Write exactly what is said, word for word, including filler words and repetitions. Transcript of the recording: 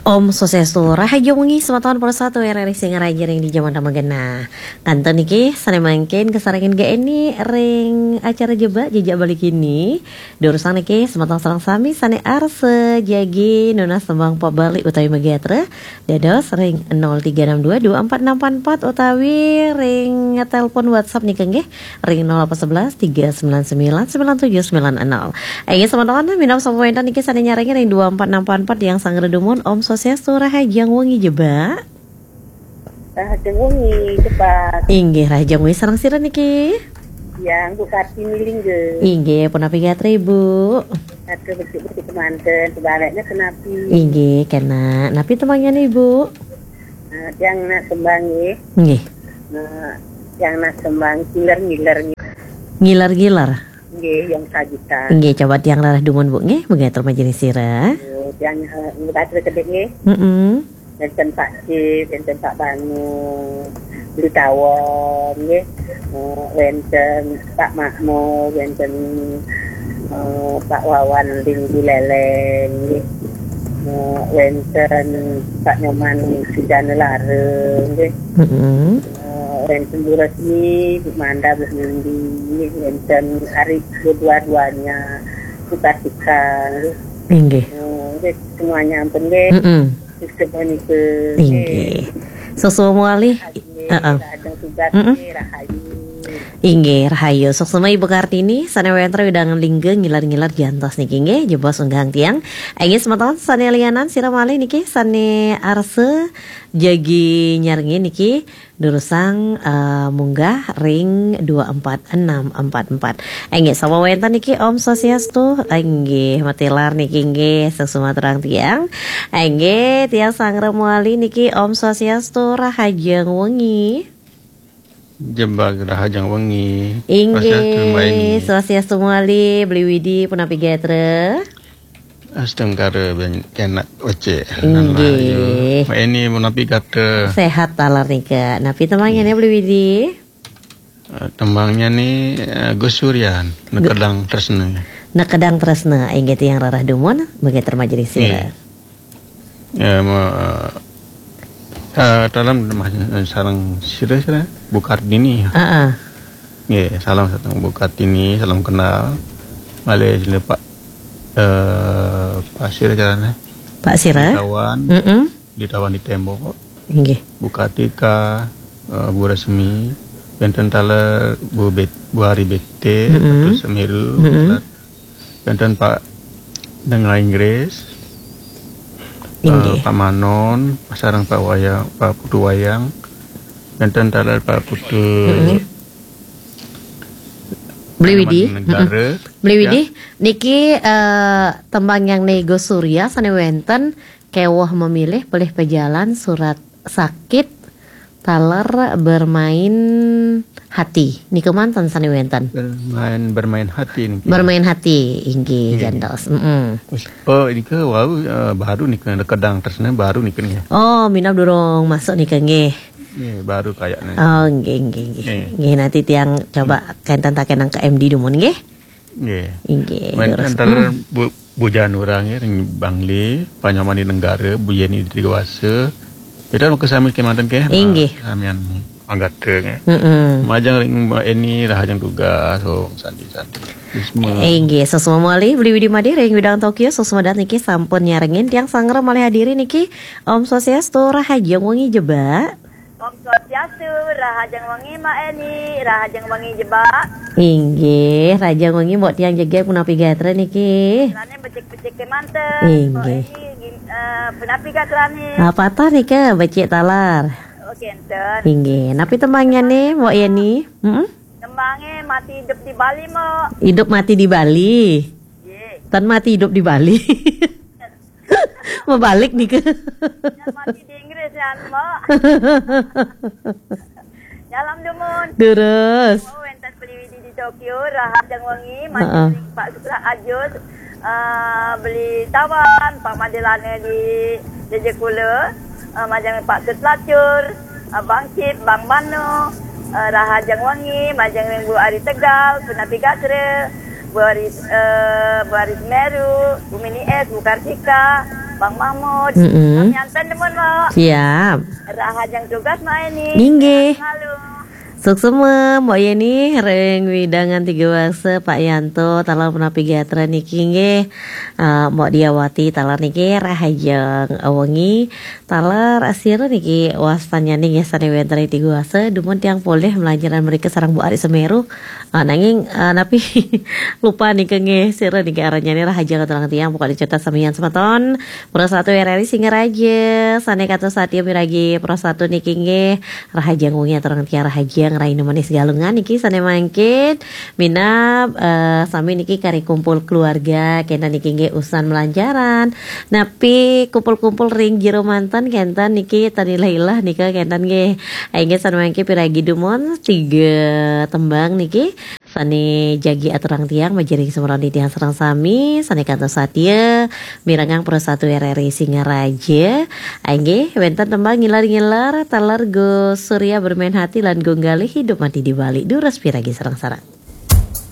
Om Swastiastu, rahajeng wengi semeton para satu R R I Singaraja ring di jaman tamagenah. Kantun niki sane mangkin kasarengin Ga Eni ring acara Jebak Jejak Bali kini. Durusang niki semeton sareng sami sane arsa jagi nunas tembang pop Bali utawi magatra, dados ring nol tiga enam dua dua empat enam empat empat utawi ring telepon WhatsApp nika nggih ring nol delapan sebelas tiga sembilan sembilan sembilan tujuh sembilan nol. Inggih semeton, minab sampun wenten niki sane nyarengin ring dua empat enam empat empat yang sanggra dumun. Om Swastiastu, rahajeng wengi Jebak. Rahajeng wengi Jebak. Inggih, rahajeng wengi sareng sira niki? Yang Bu Kartini Lingga. Inggih, punapi gatra Ibu? Gatra becik-becik kemanten, sebaliknya kenapi. Inggih, kena. Napi tembangnya nih Ibu? Eh, yang nak tembang nggih. Nggih. Eh, yang nak tembang ngiler-ngiler nggih. Ngiler-ngiler. Nggih, yang sajutan. Nggih, coba tiang rarah dumun Bu nggih, begatur majelis sira. Nggih, tiang, eh, nggih, batur kedek nggih. Mm-mm. Wenten Pak Cip, wenten Pak Banu, Beli Tawon nggih. Eh, wenten Pak Makmur, wenten, eh, Pak Wawan Linggu Leleng nggih. Eh, wenten Pak Nyoman Sujana Lara nggih. Mm-mm. Eh, wenten Bu Resmi, Bu Manda, Bu Mindi, wenten Ari, Bu Dua-duanya, Bu Kartika nggih. Inggih. Eh, nggih, semuanya ampun nggih. Mm-mm. Sukses menika. Inggih. Suksma malih. Nggih, heeh. Rahajeng tugas Mm-mm. Nggih, rahayu. Inggih, rahayu. Suksma Ibu Kartini, sane wenten wewidangan lingga ngiler-ngiler jantos niki nggih, jebos unggahang tiang. Inggih semeton sane lianan sira malih niki sane arsa jagi nyarengin niki durusang, eh, munggah ring dua empat enam empat empat. Inggih, sapa wenten niki? Om Swastiastu. Inggih, matilar niki nggih, suksma terang tiang. Inggih, tiang sanggra malih niki Om Swastiastu, rahajeng wengi. Jebak rahajeng wengi. Inggih, Swastiastu, Mbak Eni. Swastiastu malih, Beli Widi, punapi gatra? Astungkara ben kenak becik. Inggih. Mbak Eni, punapi gatra? Sehat taler nika. Napi tembangnya nih, Beli Widi? Eh, tembangnya nih, eh, Gus Suryan, Gu- Nekedang Tresna. Nekedang Tresna, inggih tiang rarah dumun, begatur majelis sira. Nggih. Ya, ma-, eh, salam sareng sira, sira, Bu Kartini. Heeh. Nggih, salam sareng Bu Kartini, salam kenal. Malih sira Pak, eh, Pak sira carane? Pak sira? Di Tawan. Mm-mm. Di Tawan di Tembok. Inggih. Bu Kartika, eh, Bu Resmi, wenten taler Bu Bet-, Bu Ari Bekte, Mm-mm. Ratu Semiru, Mm-mm. Wenten Pak Dengla Inggris, Inggih. Eh, Pak Manon, sareng Pak Wayang, Pak Putu Wayang, wenten taler Pak Putu Mm-mm. Beli Widi. Negara. Mm-mm. Beli Widi, ya. Niki, eh, tembang yang Nego Surya sane wenten Keweh Memilih, Pelih Pejalan, Surat Sakit, taler Bermain Hati. Nika manten sane wenten. Bermain, Bermain Hati niki. Bermain Hati, inggih, inggih. Jantos. Mm-mm. Oh, nika wau, eh, baru nika, Nekedang Tresna baru nika nih. Oh, minab durung masuk nika nggih. Nggih, baru kayaknya. Oh, nggih, nggih, nggih. Nggih. Nggih, nanti tiang coba kenten takenang ke M D dumun nggih. Nggih. Inggih, wenten terus. Taler Bu, Bu Janura nggih, ring Bangli, Pak Nyoman di Negara, Bu Yeni di Dewasa. Kita mau kesami kemanten ke? Inggih. Samian anggata nggih. Mm-mm. Majeng ring Mbak Eni, rahajeng tugas, oh, santi-santi. Bisma. Inggih, suksma malih, Beli Widi Made, ring Widang Tokyo, suksma dat niki sampun nyarengin tiang sanggra malih hadiri niki. Om Swastiastu, rahajeng wengi Jebak. Om Swastiastu, rahajeng wengi Mbak Eni, rahajeng wengi Jebak. Inggih, rahajeng wengi Mbok tiang jegeg punapi gatra niki. Lane becik-becik kemanten. Inggih. Mbok Eni, gim-, eh, punapi gatrane? Ah, patah nika becik taler. Oh, kenten. Inggih, napi tembangnya nih, Mbok Yeni? Mm-mm. Tembange Mati Hidup di Bali, Mbok. Hidup Mati di Bali. Nggih. Tan mati hidup di Bali. Mebalik nika. Yang mati di Inggris ya, Mbok. Dalam dumun. Terus. Oh, wenten Beli Widi di Tokyo, rahajeng wengi, heeh. Majeng ring Pak Sutra Ajus, eh, Beli Tawan, Pak Madelane di Jejekula, eh, majeng Pak Sutlacur, eh, Bang Cip, Bang Mano, eh, rahajeng wengi, majeng ring Bu Ari Tegal, punapi gatra, Bu Ari, eh, Bu Ari Semeru, Bu Mini S, Bu Kartika, Bang Mahmud. Mm-mm. Bang Yanten demen, Mbok. Siap. Rahajeng tugas, Mbok Yeni. Inggih. Halo. Suksma, Mbok Yeni, ring wewidangan Tiga Wasa, Pak Yanto, taler punapi gatra niki nggih. Eh, Mbok Diawati, taler niki rahajeng wengi, taler asira niki wastanyané nggih sané wénten ring Tiga Wasa, dumun tiang polih malanjaran mrika sareng Bu Ari Semeru. Ah, nanging, ah, napi lupa nika nggih, sira niki aranyané rahajeng aturang tiang, pokokné catet samian semeton. Prasatu R R I Singaraja, sané kantos satia miragi prasatu niki nggih, rahajeng wengi aturang tiang, rahajeng rahina manis Galungan niki sané mangkin minab, eh, sami niki kari kumpul keluarga, kénten niki nggih usan malanjaran. Napi kumpul-kumpul ring jero manten kénten niki tan ilah-ilah nika kénten nggih. Inggih sané mangkin piragi dumun tiga tembang niki sané jagi aturang tiang, majeng ring semroning tiang sareng sami, sané kantos satia mirengang prasatu R R I Singaraja. Inggih, wénten tembang ngiler-ngiler, taler Gus Surya Bermain Hati lan Gung Galih Hidup Mati di Bali. Durus piragi sareng-sareng.